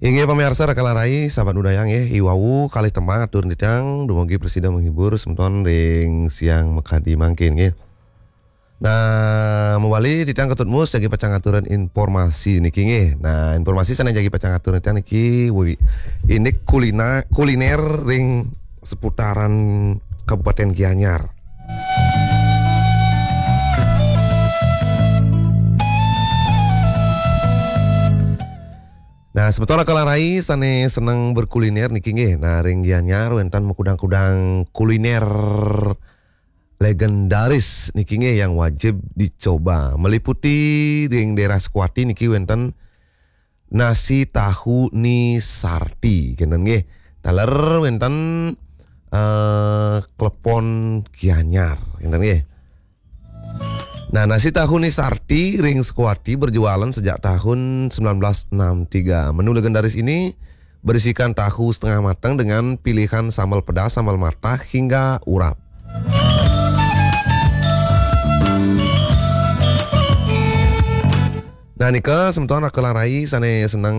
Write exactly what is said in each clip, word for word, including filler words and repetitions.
Inggih pamiarsa Raka Larai, sahabat budaya nggih, i wau kalih tembang atur titiang dumugi prasida menghibur semeton ring siang makadi mangkin nggih. Nah, mawali titiang Ketut Mus jagi pacang aturan informasi niki nggih. Nah, informasi sane jagi pacang aturan titiang niki wi-, indik kulina-, kuliner ring seputaran Kabupaten Gianyar. Nah, semeton Raka Larai sane seneng berkuliner niki nggih. Nah, ring Gianyar wenten makudang-kudang kuliner legendaris niki nggih yang wajib dicoba. Meliputi ring daerah Sukawati niki wenten nasi tahu Ni Sarti, kenten nggih. Taler wenten, eh, klepon Gianyar, kenten nggih. Nah, nasi tahu Ni Sarti ring Sukawati berjualan sejak tahun sembilan belas enam tiga. Menu legendaris ini berisikan tahu setengah matang dengan pilihan sambal pedas, sambal matah, hingga urap. Nah, nika semeton Raka Larai sane seneng,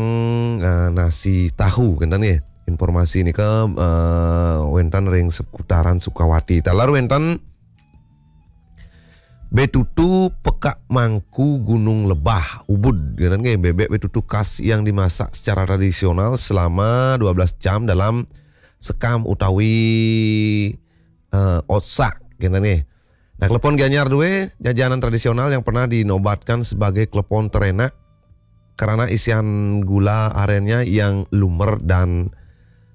eh, nasi tahu, kenten nggih. Informasi nika, eh, wenten ring seputaran Sukawati. Taler wenten betutu Pekak Mangku Gunung Lebah, Ubud, kenten nggih, bebek betutu khas yang dimasak secara tradisional selama dua belas jam dalam sekam utawi, eh, otsak, kenten nggih. Nah, klepon Gianyar due, jajanan tradisional yang pernah dinobatkan sebagai klepon terenak karena isian gula arennya yang lumer dan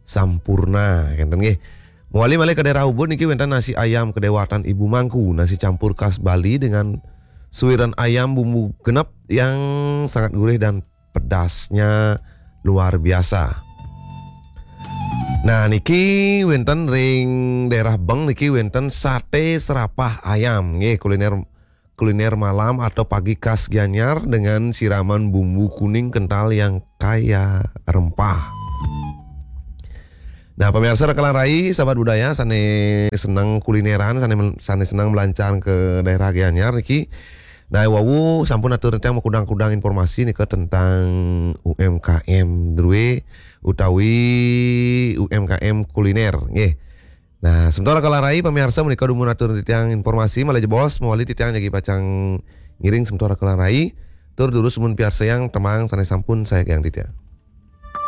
sampurna, kenten nggih. Mawali malih ka daerah Ubud niki wenten nasi ayam kedewatan Ibu Mangku, nasi campur khas Bali dengan suiran ayam bumbu genep yang sangat gurih dan pedasnya luar biasa. Nah, niki wenten ring daerah Beng niki wenten sate serapah ayam, nggih, kuliner kuliner malam atau pagi khas Gianyar dengan siraman bumbu kuning kental yang kaya rempah. Nah, pemirsa Raka Larai, sahabat budaya, sane seneng kulineran, sane, sane seneng melancar ke daerah Gianyar niki. Nah, wau sampun atur titiang makudang-kudang informasi nika tentang U M K M drue utawi U M K M kuliner, nggih. Nah, semeton Raka Larai, pamiarsa, menika dumun atur titiang informasi, malih jebos, mawali titiang jagi pacang ngiring semeton Raka Larai, tur durus dumun piarsayang tembang sane sampun sayagiang titiang.